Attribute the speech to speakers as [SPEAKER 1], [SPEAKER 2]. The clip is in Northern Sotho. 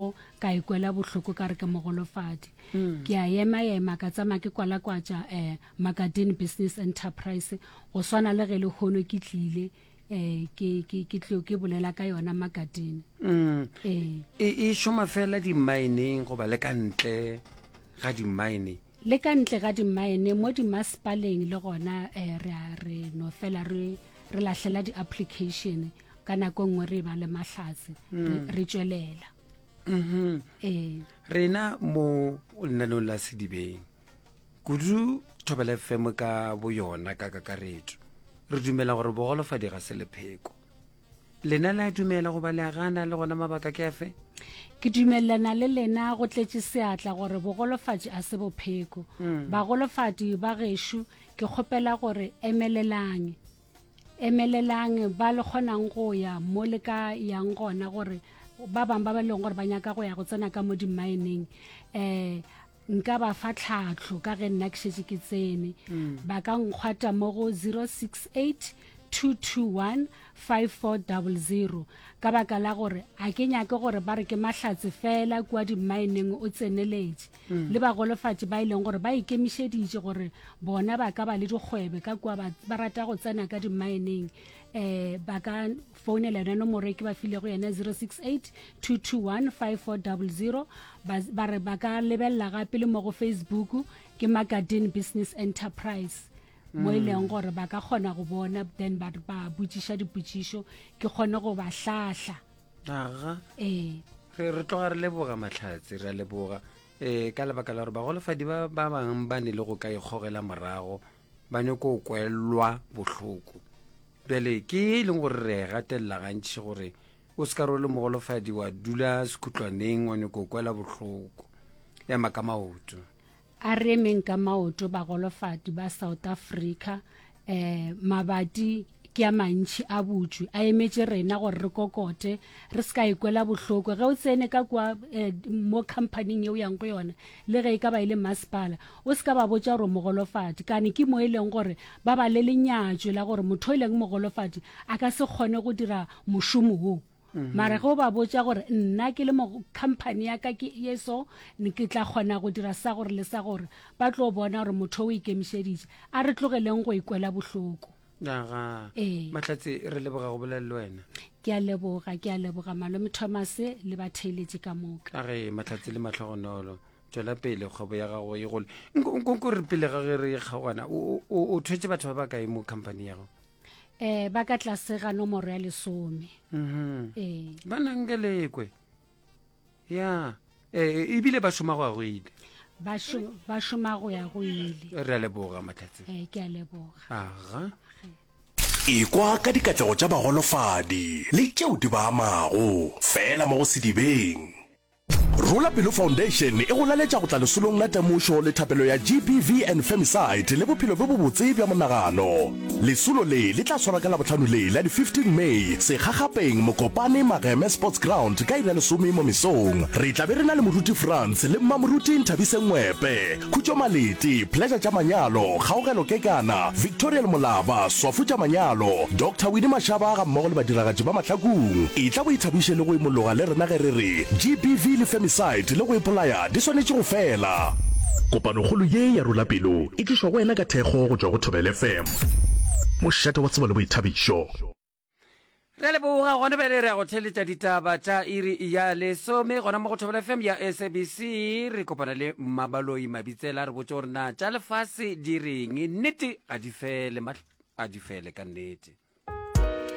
[SPEAKER 1] morago ka ikwela bohloko ka re ke mogolofadi. Ke a ema-ema ka tsamaya ke kwalakwatša um Makadine Business Enterprise go swana le ge lehono ke tlile um ke, ke, ke tlo ke bolela ka yona Makadine.
[SPEAKER 2] Mm.
[SPEAKER 1] Ee.
[SPEAKER 2] E, e šoma fela dimmaeneng goba le ka ntle ga dimmaene?
[SPEAKER 1] Le ka ntle ga dimmaene, mo dimasepaleng le gona um re a re no fela re, re lahlela di-application ka nako e nngwe re ba le mahlatse re, re tšwelela.
[SPEAKER 2] Mm-hmm.
[SPEAKER 1] Ee.
[SPEAKER 2] Rena mo lenaneong la Sedibeng kudu Thobela FM ka boyona ka kakaretšo re dumela gore bogolofadi ga se lepheko. Lena le a dumela goba le a gana le gona mabaka ke afe?
[SPEAKER 1] Ke dumelelana le lena go tletše seatla gore bogolofatši a se bopheko. Bagolofadi ba gešo ke kgopela gore emelelang. Emelelang ba le kgonang go ya mo le ka yang gona gore ba bangwe ba ba leng gore ba nyaka go ya go tsena ka mo dimmaeneng um nka ba fa tlhahlo ka ge nna ke šetše ke tsene. Ba ka nkgwata mo go 068 221 5400 ka baka la gore a ke nyake gore ba re ke mahlatse fela kua dimmaeneng o tseneletše. Le bagolofatši ba e leng gore ba ikemišeditše gore bona ba ka ba le dikgwebe ka kua ba, ba rata go tsena ka dimmaeneng um ba ka founela yona nomoro e ke ba filego yona 068 221 5400 ba, ba re ba ka lebelela gape le mo go Facebook ke Makadine Business Enterprise mo e leng gore ba ka kgona go bona then ba ba botšiša dipotšišo ke kgone go ba hlahla.
[SPEAKER 2] Aga.
[SPEAKER 1] Ee.
[SPEAKER 2] Re re tloga re leboga Mahlatse, re a leboga um ka lebaka la gore bagolofadi ba ba bangwe ba ne le go ka ikgogela morago ba nyako kwelwa bohloko. Bjale ke e leng gore re e gatelela gantši gore o se ka re o le mogolofadi wa dula sekhutlwaneng wa nyako kwela bohloko. Ema ka maoto.
[SPEAKER 1] A re emeng ka maoto bagolofadi ba South Africa. Um mabati ke a mantši a butšwe a emetše rena gore re kokote re se ka ikwela bohloko ge o tsene ka kua eh, mo companyng ye o yang go yona le ge e ka ba e le masepala o se ka ba botša gore o mogolofadi kane ke mo e leng gore ba ba le lenyatšo la gore motho e leng mogolofadi a ka se kgone go dira mošomo wo Mara ge o ba botša gore nna ke le mo company ya ka ke ye so, ke tla kgona go dira sa gore le sa gore, ba tlo bona gore motho o ikemišeditše. A re tlogeleng go ikwela bohloko.
[SPEAKER 2] Aga.
[SPEAKER 1] Ee.
[SPEAKER 2] Mahlatse, re leboga go bolela le wena.
[SPEAKER 1] Ke a leboga, ke a leboga Malome Thomas le batheeletši ka moka.
[SPEAKER 2] A ge, Mahlatse le mahlogonolo. Tšwela pele kgwebo ya gago e gole. Nko, nko, nko re pele ga ge re kgaogana, o, o, o thwetše batho ba bakae mo company ya gago?
[SPEAKER 1] Eh, ba ka tlase ga nomoro ya lesome.
[SPEAKER 2] Mm
[SPEAKER 1] -hmm. Eh.
[SPEAKER 2] Ba nang ke lekwe. Ya. Eh, ebile ba šoma go ya go ile.
[SPEAKER 1] Ba šo, ba šoma go ya go ile.
[SPEAKER 2] Re a leboga Mahlatse.
[SPEAKER 1] Eh, ke a leboga.
[SPEAKER 2] Aga.
[SPEAKER 3] Ekwa ka dikatlego tša bagolofadi le tšeo di ba amago, fela mo go Sedibeng. Rola Pelo Foundation e go laletša go tla lesolong la temošo le thapelo ya GBV and Femicide le bophelo bjo bobotse bja monagano. Lesolo le le tla swarwa ka Labohlano le la di 15 May, Sekgakgapeng, Mokopane, Mageme Sports Ground ka iri ya lesome mo mesong. Re tla be re na le Moruti Frans le Mmamoruti Nthabiseng Ngwepe. Khutšo Malete, Pleasure tša Manyalo, Kgaogelo Kekana, Victoriel Molaba, Swafu tša Manyalo, Doctor Winnie Mashaba gammogo le badiragatši ba Mahlakung. Etla o ithabiše le go imologa le rena ge re re GBV le femicide le go ipolaya di swanetše go fela. Kopanokgolo ye ya Rola Pelo e tlišwa go wena ka thekgo go tšwa go Thobela FM, mošate wa tsebo le boithabišo.
[SPEAKER 2] Re a leboga gona bjale re ya go theletša ditaba tša iri ya lesome gona mo go Thobela FM ya SABC. Re kopana le Mmabaloi Mabitsela re botse gore na tša lefase di reng. Nnete ga di fele, a di fele ka nnete.